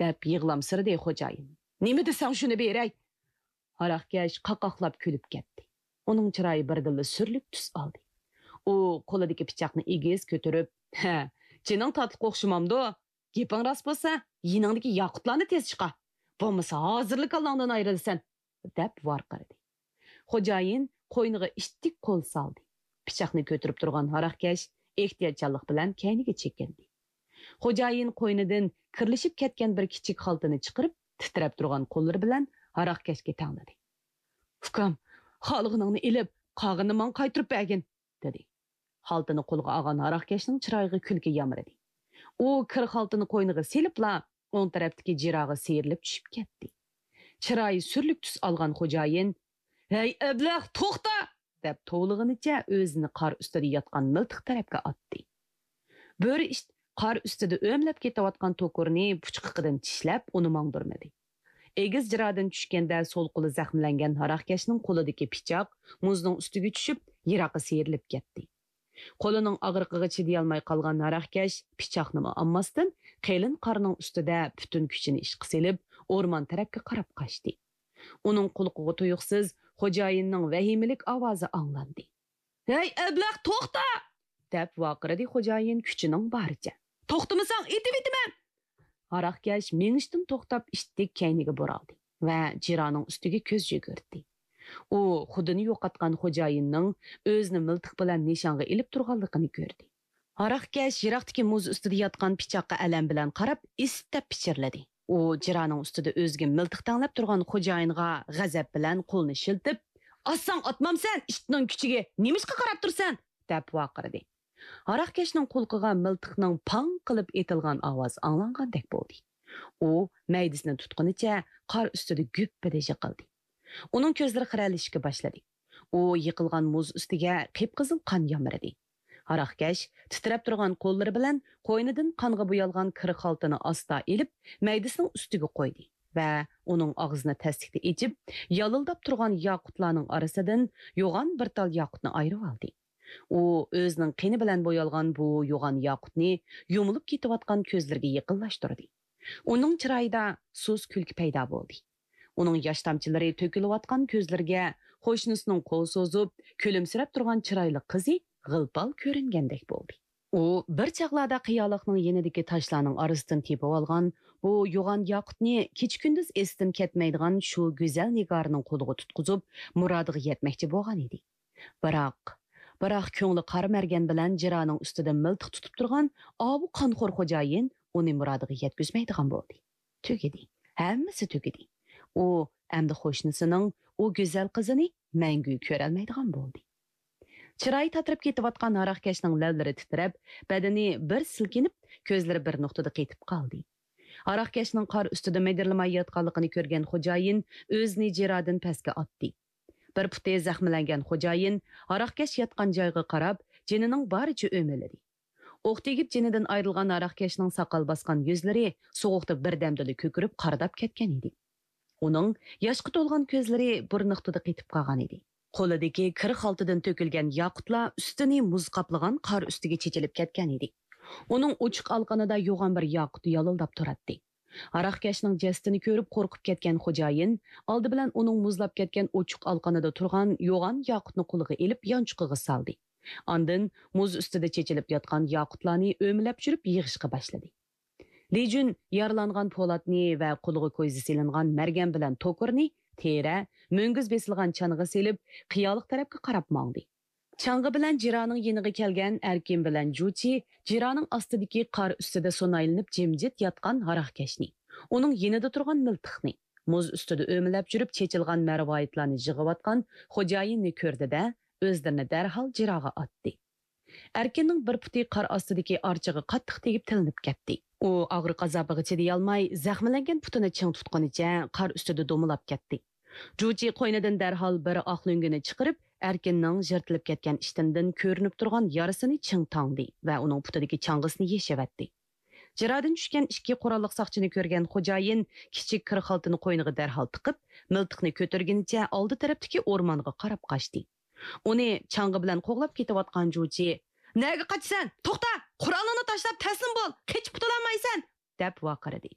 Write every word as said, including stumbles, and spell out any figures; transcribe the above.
دەپ يىغلامسىرىدى خوجايىن. نېمە دېسەڭ شۇنى بېرەي! ھاراقكەش قاقاقلاپ كۈلۈپ كەتتى. ئۇنىڭ چىرايى بىردىنلا سۈرلۈك تۈس ئالدى. ئۇ قولىدىكى پىچاقنى ئېگىز كۆتۈرۈپ، ھە، جېنىڭ تاتلىق ئوخشىمامدۇ؟ گېپىڭ راست بولسا، يېنىڭدىكى ياقۇتلارنى تېز چىقار. بولمىسا ھازىرلا كاللاڭدىن ئايرىلىسەن، دەپ ۋارقىرىدى. خوجايىن قوينىغا ئىتتىك قول سالدى. پىچاقنى كۆتۈرۈپ تۇرغان ھاراقكەش ئېھتىياتچانلىق بىلەن كەينىگە چېكىندى. خوجايىن قوينىدىن كىرلىشىپ كەتكەن بىر كىچىك خالتىنى چىقىرىپ، تىترەپ تۇرغان قوللىرى بىلەن ھاراقكەشكە تەڭلىدى. ئۇكام، خالىغىنىڭنى ئېلىپ، قالغىنىنى ماڭا قايتۇرۇپ بەرگىن، دېدى. خالتىنى قولىغا ئالغان ھاراقكەشنىڭ چىرايىغا كۈلكە يامرىدى. ئۇ كىر خالتىنى قوينىغا سېلىپلا، ئوڭ تەرەپتىكى جىراغا سىيرىلىپ چۈشۈپ كەتتى. چىرايى سۈرلۈك تۈس ئالغان خوجايىن، ھەي ئەبلەخ، توختا! دەپ توۋلىغىنىچە ئۆزىنى قار ئۈستىدە ياتقان مىلتىق تەرەپكە ئاتتى. بۆرە ئىت قار ئۈستىدە ئۆمىلەپ كېتىۋاتقان توكۇرنى پۇچقىقىدىن چىشلەپ، ئۇنى ماڭدۇرمىدى. ئېگىز جىرادىن چۈشكەندە سول قولى زەخىملەنگەن ھاراقكەشنىڭ قولىدىكى پىچاق مۇزنىڭ ئۈستىگە چۈشۈپ، يىراققا سىيرىلىپ كەتتى. قولىنىڭ ئاغرىقىغا چىدىيالماي قالغان ھاراقكەش پىچاقنىمۇ ئالماستىن، قېلىن قارنىڭ ئۈستىدە پۈتۈن كۈچىنى ئىشقا سېلىپ، ئورمان تەرەپكە قاراپ قاچتى. ئۇنىڭ قۇلىقىغا تۇيۇقسىز خوجايىننىڭ ۋەھىمىلىك ئاۋازى ئاڭلاندى. ھەي ئەبلەخ، توختا! دەپ ۋارقىرىدى خوجايىن كۈچىنىڭ بارىچە. توختىمىساڭ ئېتىۋېتىمەن! ھاراقكەش مېڭىشتىن توختاپ ئىتتىك كەينىگە بۇرالدى ۋە جىرانىڭ ئۈستىگە كۆز يۈگۈرتتى. ئۇ خۇدىنى يوقاتقان خوجايىننىڭ ئۆزىنى مىلتىق بىلەن نىشانغا ئېلىپ تۇرغانلىقىنى كۆردى. ھاراقكەش يىراقتىكى مۇز ئۈستىدە ياتقان پىچاققا ئەلەم بىلەن قاراپ ئىستەپ پىچىرلىدى. ئۇ جىرانىڭ ئۈستىدە ئۆزىگە مىلتىق تەڭلەپ تۇرغان خوجايىنغا غەزەپ بىلەن قولىنى شىلتىپ، ئاتساڭ ئاتمامسەن، ئىتنىڭ كۈچىگە نېمىشقا قاراپ تۇرىسەن؟ دەپ ۋارقىرىدى. ھاراقكەشنىڭ قۇلىقىغا مىلتىقنىڭ پاڭ قىلىپ ئېتىلغان ئاۋازى ئاڭلانغاندەك بولدى. ئۇ مەيدىسىنى تۇتقىنىچە قار ئۈستىدە گۈپپىدە يىقىلدى. ئۇنىڭ كۆزلىرى خىرەلىشىشكە باشلىدى. ئۇ يىقىلغان مۇز ئۈستىگە قىپقىزىل قان يامرىدى. ھاراقكەش تىترەپ تۇرغان قوللىرى بىلەن قوينىدىن قانغا بويالغان كىر خالتىنى ئاستا ئېلىپ، مەيدىسىنىڭ ئۈستىگە قويدى ۋە ئۇنىڭ ئاغزىنى تەستىكتە ئېچىپ، يالىلداپ تۇرغان ياقۇتلارنىڭ ئارىسىدىن يوغان بىر تال ياقۇتنى ئايرىۋالدى. ئۇ ئۆزىنىڭ قېنى بىلەن بويالغان بۇ يوغان ياقۇتنى يۇمۇلۇپ كېتىۋاتقان كۆزلىرىگە يېقىنلاشتۇردى. ئۇنىڭ چىرايىدا سۇس كۈلكە پەيدا بولدى. ئۇنىڭ ياش تامچىلىرى تۆكۈلۈۋاتقان كۆزلىرىگە قوشنىسىنىڭ قول سوزۇپ، كۈلۈمسىرەپ تۇرغان چىرايلىق قىزى غىل-پال كۆرۈنگەندەك بولدى. ئۇ بىر چاغلاردا قىيالىقنىڭ يېنىدىكى تاشلارنىڭ ئارىسىدىن تېپىۋالغان بۇ يوغان ياقۇتنى كېچە-كۈندۈز ئېستىن كەتمەيدىغان شۇ گۈزەل نىگارنىڭ قولىغا تۇتقۇزۇپ، مۇرادىغا يەتمەكچى بولغان ئىدى. بىراق، بىراق كۆڭلى قارا مەرگەن بىلەن جىرانىڭ ئۈستىدە مىلتىق تۇتۇپ تۇرغان ئاۋۇ قانخور خوجايىن ئۇنى مۇرادىغا يەتكۈزمەيدىغان بولدى. تۈگىدى. ھەممىسى تۈگىدى. ئۇ ئەمدى قوشنىسىنىڭ ئۇ گۈزەل قىزىنى مەڭگۈ كۆرەلمەيدىغان بولدى. چىرايى تاتىرىپ كېتىۋاتقان ھاراقكەشنىڭ لەۋلىرى تىترەپ، بەدىنى بىر سىلكىنىپ، كۆزلىرى بىر نۇقتىدا قېتىپ قالدى. ھاراقكەشنىڭ قار ئۈستىدە مىدىرلىماي ياتقانلىقىنى كۆرگەن خوجايىن ئۆزىنى جىرادىن پەسكە ئاتتى. بىر پۇتى زەخىملەنگەن خوجايىن ھاراقكەش ياتقان جايغا قاراپ، جېنىنىڭ بارىچە ئۆمىلىدى. ئوق تېگىپ جېنىدىن ئايرىلغان ھاراقكەشنىڭ ساقال باسقان يۈزلىرى سوغۇقتا بىردەمدىلا كۆكىرىپ قارىداپ كەتكەن ئىدى. ئۇنىڭ ياشقا تولغان كۆزلىرى بىر نۇقتىدا قېتىپ قالغان ئىدى. قولىدىكى كىر خالتىدىن تۆكۈلگەن ياقۇتلار ئۈستىنى مۇز قاپلىغان قار ئۈستىگە چېچىلىپ كەتكەن ئىدى. ئۇنىڭ ئوچۇق ئالىقىنىدا يوغان بىر ياقۇت يالىلداپ تۇراتتى. ھاراقكەشنىڭ جەسىتىنى كۆرۈپ قورقۇپ كەتكەن خوجايىن ئالدى بىلەن ئۇنىڭ مۇزلاپ كەتكەن ئوچۇق ئالىقىنىدا تۇرغان يوغان ياقۇتنى قولىغا ئېلىپ يانچۇقىغا سالدى. ئاندىن مۇز ئۈستىدە چېچىلىپ ياتقان ياقۇتلارنى ئۆمىلەپ چۈشۈرۈپ يىغىشقا باشلىدى. لى جۈن يارىلانغان پولاتنى ۋە قولىغا كويزا سېلىنغان مەرگەن بىلەن توكۇرنى تېرە، مۈڭگۈز بېسىلغان چانىغا سېلىپ، قىيالىق تەرەپكە قاراپ ماڭدى. چاڭغا بىلەن جىرانىڭ يېنىغا كەلگەن ئەركىن بىلەن جۇچى جىرانىڭ ئاستىدىكى قار ئۈستىدە سۇنايلىنىپ جىمجىت ياتقان ھاراقكەشنى، ئۇنىڭ يېنىدا تۇرغان مىلتىقنى، مۇز ئۈستىدە ئۆمىلەپ يۈرۈپ چېچىلغان مەرۋايىتلارنى يىغىۋاتقان خوجايىننى كۆردى-دە، ئۆزلىرىنى دەرھال جىراغا ئاتتى. ئەركىننىڭ بىر پۇتى قار ئاستىدىكى ئارچىغا قاتتىق تېگىپ تىلىنىپ كەتتى. ئۇ ئاغرىق ئازابىغا چىدىيالماي، زەخىملەنگەن پۇتىنى چىڭ تۇتقىنىچە قار ئۈستىدە دومىلاپ كەتتى. جۇچى قوينىدىن دەرھال بىر ئاق لۆڭگىنى چىقىرىپ، ئەركىننىڭ يىرتىلىپ كەتكەن ئىشتىنىدىن كۆرۈنۈپ تۇرغان يارىسىنى چىڭ تاڭدى ۋە ئۇنىڭ پۇتىدىكى چاڭغىسىنى يېشىۋەتتى. جىرادىن چۈشكەن ئىككى قوراللىق ساقچىنى كۆرگەن خوجايىن كىچىك كىر خالتىنى قوينىغا دەرھال تىقىپ، مىلتىقنى كۆتۈرگىنىچە ئالدى تەرەپتىكى ئورمانغا قاراپ قاچتى. ئۇنى چاڭغا بىلەن قوغلاپ كېتىۋاتقان جۇچى، نەگە قاچىسەن؟ توختا! قورالىڭنى تاشلاپ تەسلىم بول! قېچىپ قۇتۇلالمايسەن! دەپ ۋارقىرىدى.